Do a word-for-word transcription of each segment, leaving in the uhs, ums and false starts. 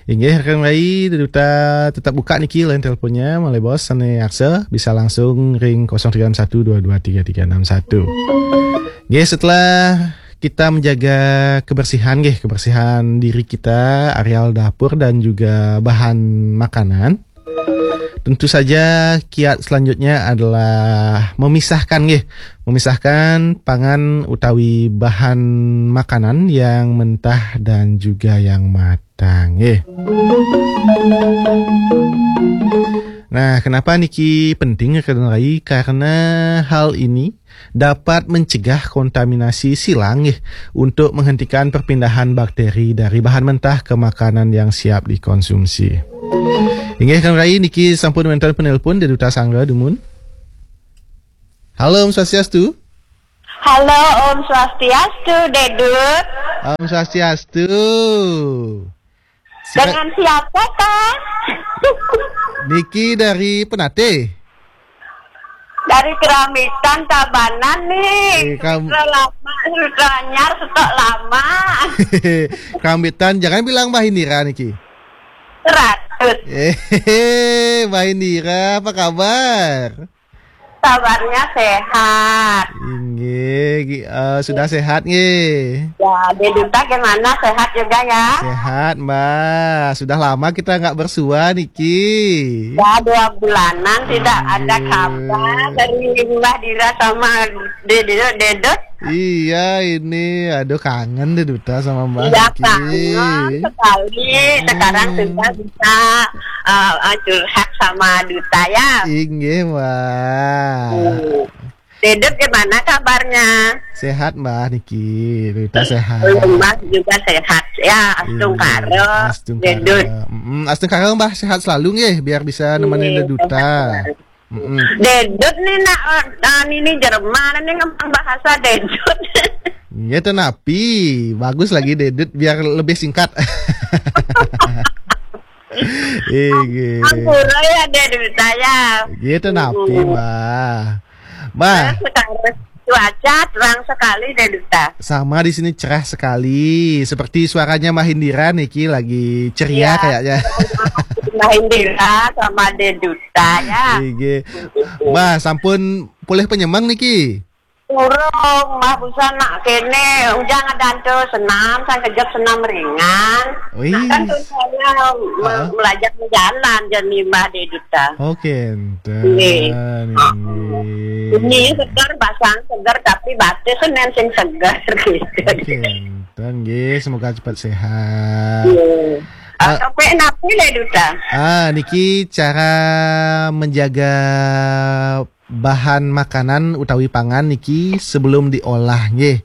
Inggih, rekan rai, Duta tetap buka niki line teleponnya, malih bos sane arsa bisa langsung ring kosong tiga enam satu dua dua tiga tiga enam satu. Nggih, setelah kita menjaga kebersihan, nggih, kebersihan diri kita, areal dapur dan juga bahan makanan. Tentu saja kiat selanjutnya adalah memisahkan, nggih, memisahkan pangan utawi bahan makanan yang mentah dan juga yang matang, nggih. Nah, kenapa niki penting, rekan rai? Karena hal ini dapat mencegah kontaminasi silang, nggih, untuk menghentikan perpindahan bakteri dari bahan mentah ke makanan yang siap dikonsumsi. Inggih, rekan rai, niki sampun wenten penelpon dari Duta Sangga dumun. Halo, Om Swastiastu. Halo, Om Swastiastu, Dedut. Om Swastiastu. Sika- Dengan siapa, Kang? Niki dari Penate. Dari Keramitan, Tabanan nih. Eh, kam- Sudah lama, sudah nyar, stok lama. Keramitan, jangan bilang Mbah Indira niki. Ratus. Eh, Mbah Indira, apa kabar? Kabarnya sehat. Inggih, gi- eh, sudah sehat nggih. Ya, Deduta gimana? Sehat juga ya? Sehat, Mbah. Sudah lama kita nggak bersua niki. Ya, dua bulanan tidak ada kabar dari Mbah Dira sama Dedut. Dedut. Iya, ini aduh kangen Deduta sama Mbah Iya, niki. Kangen sekali. Sekarang sudah bisa eh, eh, curhat sama Duta ya. Inggih, Mbah. Hmm. Dedut gimana kabarnya? Sehat, Mbah niki. Duta sehat. Mbah juga sehat. Ya, astungkara. Astungkara. Dedut. Mm-mm, astungkara, Mbah, sehat selalu nggih, biar bisa nemenin Deduta. Mm-mm. Dedut nih nak, eh, ini Jerman nih ngomong bahasa Dedut. Iya, tenapi. Bagus lagi Dedut biar lebih singkat. Inggih. Ampura ya, Dedut, saya. Gitu napi, Mbah. Mbah. Sekarang cuaca terang sekali, Dedut. Sama di sini, cerah sekali. Seperti suaranya Mbah Indira niki lagi ceria kayaknya. Mbah Indira sama Dedut ya. Inggih. Mbah, sampun pulih penyemang niki? Urung, Mbah, busan nak kene, ujang adan tu senam, sang kejep senam ringan. Wih. Nah, kan tu saya me-, belajar jalan, jadi Mbah Deduta. Oke, enten. Nggih. Ini segar, basang segar, tapi batis senen sing segar gitu. Oke, enten. Nggih, semoga cepat sehat. Nggih. Ah, tapi napi le, Duta? Ah, niki cara menjaga bahan makanan utawi pangan niki sebelum diolah nggih.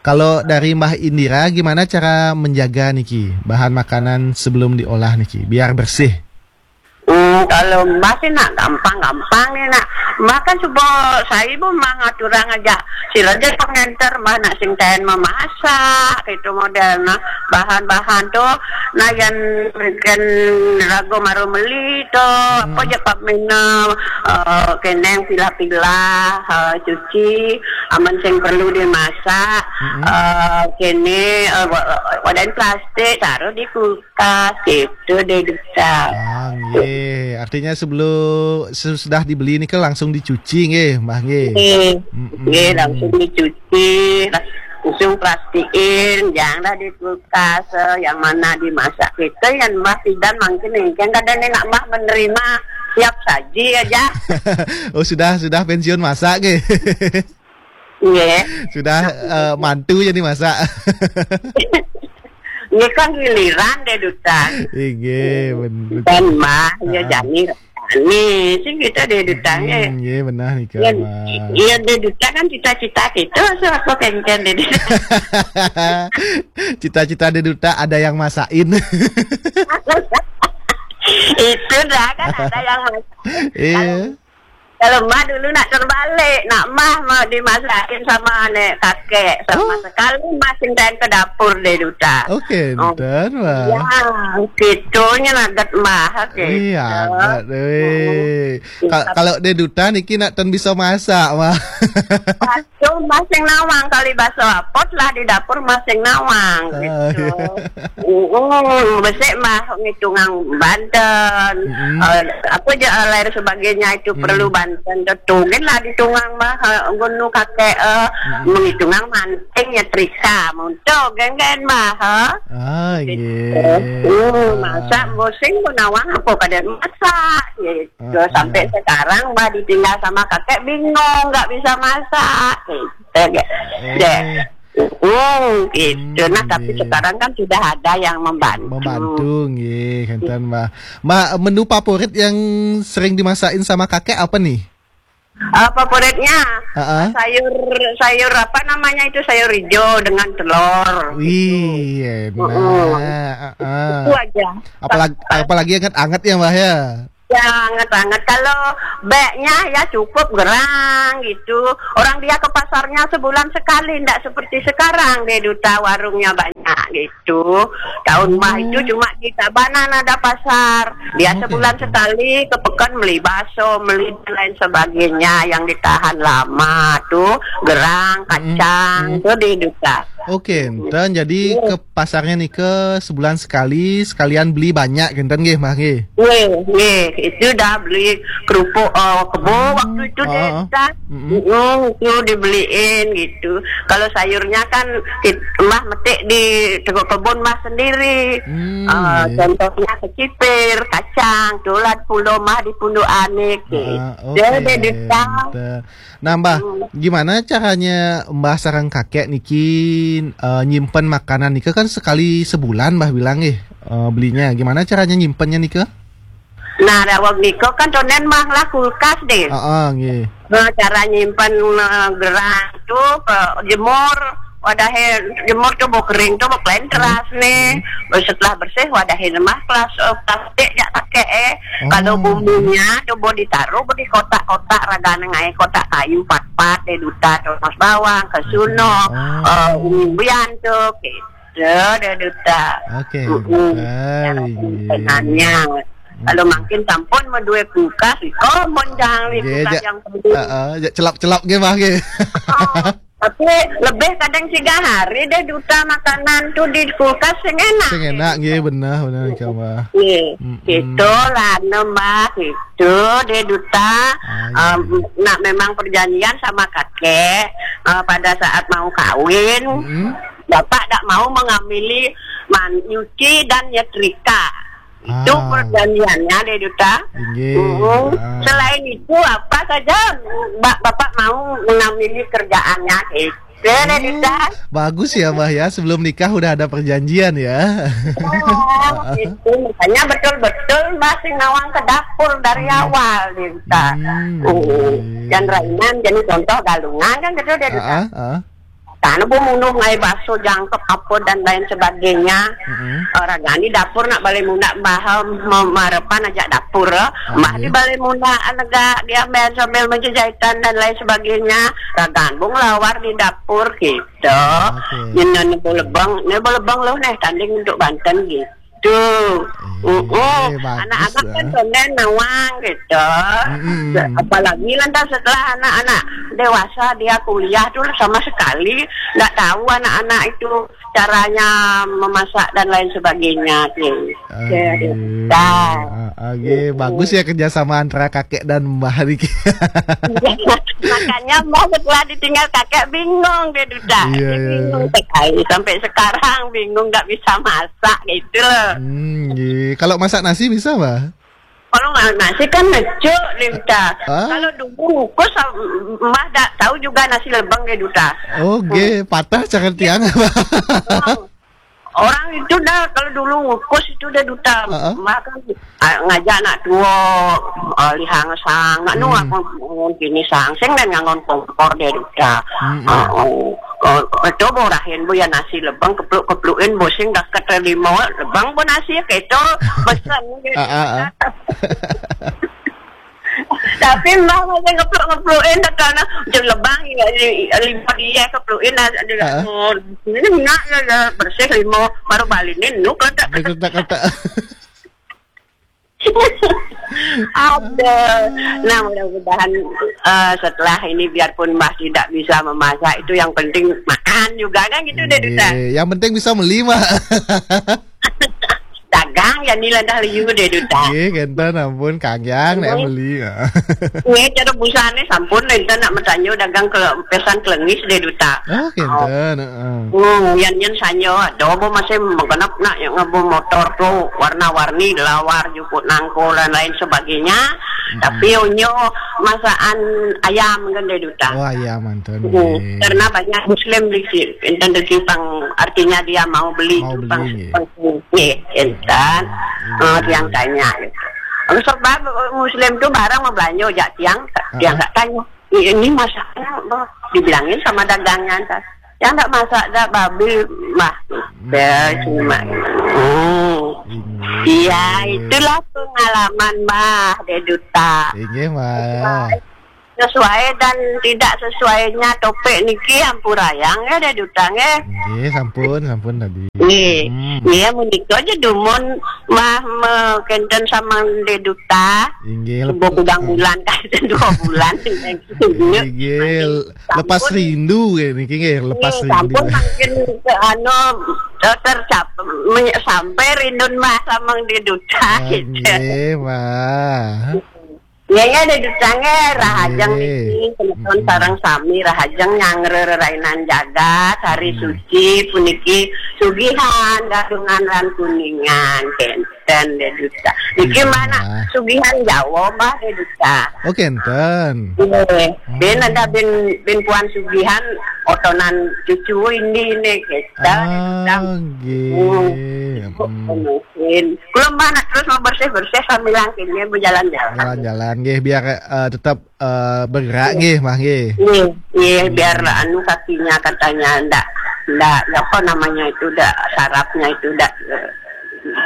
Kalau dari Mbah Indira, gimana cara menjaga niki bahan makanan sebelum diolah niki biar bersih? Hmm, kalau Mbah sih nak gampang-gampang nih nak. Mbah kan coba saya bu Mbah ngaturang aja. Sila aja pengenter Mbah nak sing taen memasak itu model nah. Bahan-bahan tuh nah yang kan rago maru meli to, apa je pap mena, eh, keneng pilah-pilah, eh, cuci, aman sing perlu dimasak, eh, kene, eh, wa-, wadah plastik, taruh di kulkas, gitu deh, Duta. Ah, nggih. Artinya sebelum, sesudah dibeli ini kan langsung dicuci nggih, Mbah nggih. Nggih. Mm-mm. Nggih, langsung dicuci, langsung plastikin, janganlah di kulkas, eh, yang mana dimasak. Kita yang Mbah Pidan mungkin, mungkin kadang nak Mbah menerima siap saji aja. Oh, sudah, sudah pensiun masak nggih. Nggih. Sudah, eh, mantu jadi masak. Ini kan giliran deh, Duta. Inggih, ben-, betul. Dan Mbah, ya, jani. Ini sih kita deh, Duta, nggih. Hmm, nggih, benar nih, Kak, Mbah. Iya, deh, Duta kan cita-cita gitu, so aku kencen deh, Duta. Cita-cita deh, Duta, ada yang masakin. Itu dah kan ada yang masak. Iya. Kalau Mbah dulu nak terbalik, nak Mbah mau dimasakin sama nek kakek, sama sekali Mbah cintain ke dapur deh, Duta. Oke, oh. Enten, Mbah. Ya, gitunya naget Mbah, oke. Iya, agat, weh. Ka-, kalau deh Duta niki nak ten bisa masak, Mbah. Tuh, masing nawang kali baso apot lah di dapur masing nawang, ah, gitu. Iya. Mm, besik mah ngitungang banten, mm-mm, eh, apa aja, eh, lain sebagainya itu, mm, perlu banten. Tuh, gin lah ditungang mah, eh, gunu kakek, eh, mm-mm, mengitungang manting ya trika, munto, genggen mah, eh. Ah, gitu. Iya. Hmm, masa pusing pun nawang apa kada masak, gitu. Terus sampai sekarang, bah, ditinggal sama kakek, bingung, nggak bisa masak. Gitu, deh. Oh. Deh. Hmm, gitu. Hmm, nah, tapi iya, sekarang kan sudah ada yang membantu. Membantu, nggih, enten, Mbah. Mbah, menu favorit yang sering dimasakin sama kakek apa nih? Eh, favoritnya, heeh, sayur, sayur apa namanya itu, sayur hijau dengan telur, gitu. Wih, enak. Mm-mm. Heeh. Itu aja. Apalagi, apalagi anget-anget ya, Mbah, ya? Ya, anget-anget. Kalau beknya ya cukup gerang gitu. Orang dia ke pasarnya sebulan sekali, ndak seperti sekarang deh, Duta, warungnya banyak gitu. Tahun mah itu, oh, cuma di Tabanan ada pasar. Dia, oh, sebulan gitu, sekali ke pekan beli bakso, beli dan lain sebagainya yang ditahan lama tuh, gerang, mm-mm, kacang, mm, tuh di Duta. Oke, enten jadi, iya, ke pasarnya nih ke sebulan sekali, sekalian beli banyak, enten nggih, Mbah, nggih? Nggih, nggih. Itu dah beli kerupuk, eh, kebo, hmm, waktu itu deh, oh, kita. Mm-mm. Mm-mm, itu dibeliin gitu. Kalau sayurnya kan kit-, Mbah metik di tengah kebun Mbah sendiri. Hmm, eh, iya. Contohnya kecipir, kacang, tulat pulo Mbah di Punduk Anik, gitu. Ah, oke, deh, Duta. Enten. Nah, Mbah, hmm, gimana caranya Mbah sareng kakek niki, eh, nyimpen makanan nika kan sekali sebulan, Mbah bilang, eh, eh, belinya. Gimana caranya nyimpennya nika? Nah, daweg nika kan tonden mah lah kulkas deh. Heeh, nggih. Nah, cara nyimpen, eh, gerang tuh ke jemur, wadahe jemur tuh bau kering tuh bau keren, hmm, teras nih. Hmm. Setelah bersih wadahe mah kelas, eh, plastik ya pakai, eh. Kalau, oh, bumbunya tuh bau ditaruh, bau di kotak-kotak, ragane ngai kotak kayu, pat-pat, deh, Duta, terus bawang, kesuno, oh, eh, umbian tuh, gitu. Deh, Duta. Oke, mm-mm, Duta, cara, iya, penannya. Kalau, mm-mm, makin sampun madue kulkas, iko mon jangan, nggih, kulkas ja-, yang perlu. Heeh, ja celap-celap nggih, Mbah, nggih. Oh, tapi lebih kadang tiga hari deh, Duta, makanan tuh di kulkas sing enak. Sing enak, nggih, bener, bener, Mbah. Nggih, mm-mm, gitu lah, no, Mbah, gitu deh, Duta. Ah, iya. Em, nak memang perjanjian sama kakek, eh, pada saat mau kawin, mm-mm, bapak tak mau mengamili man-, nyuci dan nyetrika. Itu, ah, perjanjiannya deh, Duta. Inggih. Mm-mm. Ah. Selain itu, apa saja Mbak, Bapak mau mengamini kerjaannya, gitu deh, hmm, Duta. Bagus ya, Mbah, ya. Sebelum nikah udah ada perjanjian ya. Oh, gitu. Makanya betul-betul masih nawang ke dapur dari, hmm, awal, Duta. Hmm, mm. Iya. Dan rainan, jadi contoh galungan kan gitu deh, Duta. Ah, ah, ah. Karena bu munuh ngai baso jangkep apa dan lain sebagainya. Mm-mm. Eh, ragani dapur nak balai muna, Mbah, eh, memarepan aja dapur, eh. Ah, Mbah di, iya, balai muna, eh, negak dia main sambil menjejahitan dan lain sebagainya. Ragan bu ngelawar di dapur gitu. Oke. Nyen nebo lebeng, nebo lebeng loh neh tanding untuk Banten gitu. Tuh. Eh, mm-mm, bagus, anak-anak kan, ah, tonden nawang gitu. Mm-mm. Apalagi lantas setelah anak-anak dewasa, dia kuliah tuh sama sekali nggak tahu anak-anak itu caranya memasak dan lain sebagainya tuh. Oke. Cerita. Ah, oke. Mm-mm. Bagus ya kerjasama antara kakek dan Mbah Riki. Makanya Mbah setelah ditinggal kakek bingung dia, Duta. Iya, dia, iya, bingung sekali. Sampai sekarang bingung, nggak bisa masak gitu loh. Hmm, iya. Kalau masak nasi bisa, Mbah? Kalau ma-, nasi kan ngecuk dia, Duta. Ah? Kalau dulu ngukus, Mbah tak tahu juga nasi lebeng dia, Duta. Oh, hmm, nggih, patah cakar tiang, Mbah. Oh. Orang itu dah, kalau dulu ngukus itu dah, Duta. Heeh. Mbah kan, ah, ngajak anak tua, ah, lihang sang, nak nu, hmm, aku nganggon kini sang, sing dan nganggon kompor dia, Duta. Hmm, hmm. Ah, oh. Oh, itu borahin bu ya nasi lebeng, kepluk-keplukin bu sing dah keterima lebeng bu nasi keto, pesen gitu. Ah, ah, ah. Tapi Mbah masih ngepluk-ngeplukin, karena jeng lebang ya, di, lima dia keplukin, ada, ah, oh, ini nak ya, ya, bersih lima, baru balinin, nu, kata, kata. Kata, kata. Ada. Nah, mudah-mudahan eh, setelah ini, biarpun Mbah tidak bisa memasak, itu yang penting makan juga, kan gitu deh, Duta. Iya, yang penting bisa beli mah. Dagang ya, nila dah liu deh, Duta. Iya, kenten, ampun, kangyang nek beli. Iya, cara busane sampun, enten nak metanyo dagang ke pesan kelengis deh, Duta. Oh, kenten, heeh. Hmm, yan yan sanyo, ada apa masih menggenap nak yang ngabo motor tuh, warna-warni, lawar, jukut nangko, dan lain sebagainya. Tapi onyo masakan ayam, kan deh, Duta. Wah, iya, mantan. Hmm, karena banyak Muslim di sini, enten di Jepang, artinya dia mau beli Mau Jepang, beli, Jepang, iya, enten. Eh, tiang tanya gitu. Sebab Muslim tuh barang mau belanja, jak tiang, tiang tak tanya. Ini masakan apa? Dibilangin sama dagangnya, ntar. Yang tak masak, dah babi, Mbah. Ya, cuma. Hmm. Iya, itulah pengalaman, Mbah, deh, Duta. Inggih, Mbah. Sesuai dan tidak sesuainya topik niki, ampurayang ya, deh, Duta, nggih. Inggih, sampun, sampun tadi. Nggih. Hmm. Iya, menika aja dumun, Mbah, me-, kenten sama deh, Duta. Inggih, Sebuah gudang bulan, kan, dua bulan. Inggih, lepas rindu ya niki, nggih, lepas Nggih, rindu. Sampun makin ke anu, eh, tercap menye- sampai rindu, Mbah, sama deh, Duta, gitu. Inggih, Mbah. Ya, ya, deh, Duta, nggih, rahajeng Nggih. Niki, semeton sareng sami, rahajeng nyanggra rerainan jagat, hari suci puniki, sugihan, gadungan lan kuningan, kenten, deh, Duta. Niki Iya, mana Mbah. Sugihan Jawa, Mbah, deh, Duta. Oh, kenten. Nggih. Ben ada ben, ben puan sugihan, otonan cucu ini, ini, kenten, deh, Duta. Ah, nggih. Hmm. Mungkin. Kula, Mbah, nak terus mau bersih-bersih sambil kini berjalan-jalan. Jalan-jalan nggih, biar eh, tetap eh, bergerak nggih, Mbah, nggih. Iya, iya, biar anu, kakinya katanya ndak, ndak, apa namanya itu, ndak, sarafnya itu ndak, eh,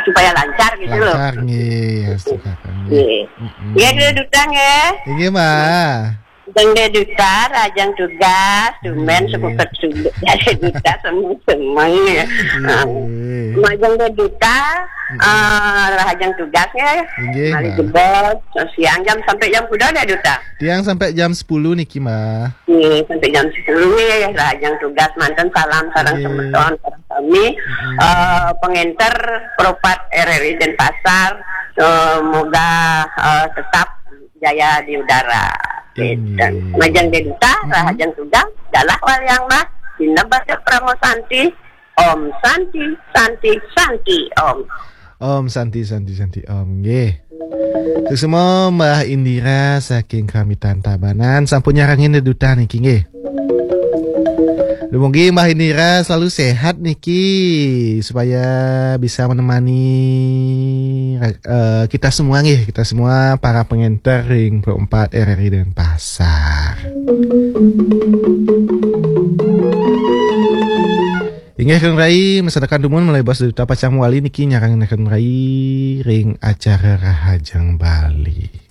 supaya lancar gitu loh. Lancar nggih, ya, suka nggih. Iya. Mm-mm. Iya, dulu, Duta, nggih. Inggih, Mbah. Jeng, deh, Duta, rahajeng tugas, tumen Iya. sekuket sudut, ya, deh, Duta, semeng-semeng, ya. Inggih. Majeng, deh, Duta, eh, rahajeng tugas, ya. Inggih, Mari Mbah. Jebos, siang jam sampai jam kuda, deh, Duta. Tiang sampai jam sepuluh niki, Mbah. Nggih, sampai jam sepuluh nggih, rahajeng tugas manten, salam sareng Nggih. Semeton, sareng sami. Eh, pengenter Pro empat R R I Denpasar, eh, moga eh, tetap jaya di udara. Inggih. Majeng, deh, Duta, rahajeng tugas, dalah waliang, Mbah, dina baca Parama Santi, Om Santi, Santi, Santi, Om. Om Santi, Santi, Santi, Om. Nggih. Suksma Mbah Indira saking Krampitan Tabanan sampun nyarengin deh, Duta, niki, nggih. Dumugi Mbah Indira selalu sehat niki, supaya bisa menemani eh, kita semua nggih, kita semua para pengenter ring Pro empat R R I Denpasar. Inggih, Kang Rai, masyarakat dumun, malih basa Duta pacang wali niki nyarengin Kang Rai ring acara Rahajeng Bali.